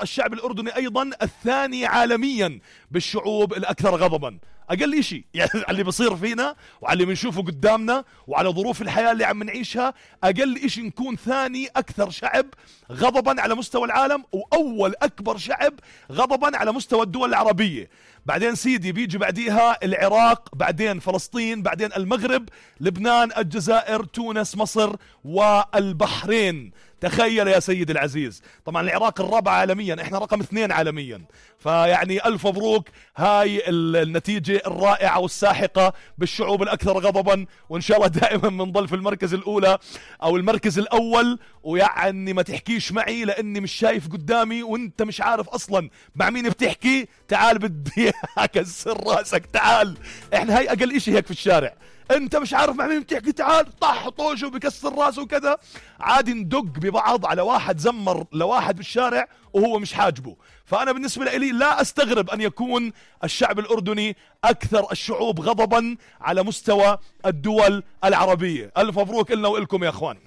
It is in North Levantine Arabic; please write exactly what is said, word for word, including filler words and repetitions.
الشعب الأردني أيضا الثاني عالميا بالشعوب الأكثر غضبا. أقل إشي يعني على اللي بصير فينا وعلى اللي بنشوفه قدامنا وعلى ظروف الحياة اللي عم نعيشها، أقل إشي نكون ثاني أكثر شعب غضبا على مستوى العالم، وأول أكبر شعب غضبا على مستوى الدول العربية. بعدين سيدي بيجي بعديها العراق، بعدين فلسطين، بعدين المغرب، لبنان، الجزائر، تونس، مصر والبحرين. تخيل يا سيدي العزيز. طبعا العراق الرابع عالميا، احنا رقم اثنين عالميا. فيعني ألف مبروك، هاي النتيجة الرائعة والساحقة بالشعوب الأكثر غضبا، وإن شاء الله دائما بنضل في المركز الأولى أو المركز الأول. ويعني ما تحكيش معي لأني مش شايف قدامي وانت مش عارف أصلا مع مين بتحكي. تعال بدي أكسر راسك، تعال. احنا هاي أقل إشي هيك في الشارع، انت مش عارف مع مين بتحكي، تعال طح طوش وبكسر راسه وكذا. عادي ندق ببعض على واحد زمر لواحد بالشارع وهو مش حاجبه. فأنا بالنسبة لي لا أستغرب أن يكون الشعب الأردني أكثر الشعوب غضبا على مستوى الدول العربية. ألف مبروك إلنا وإلكم يا أخوان.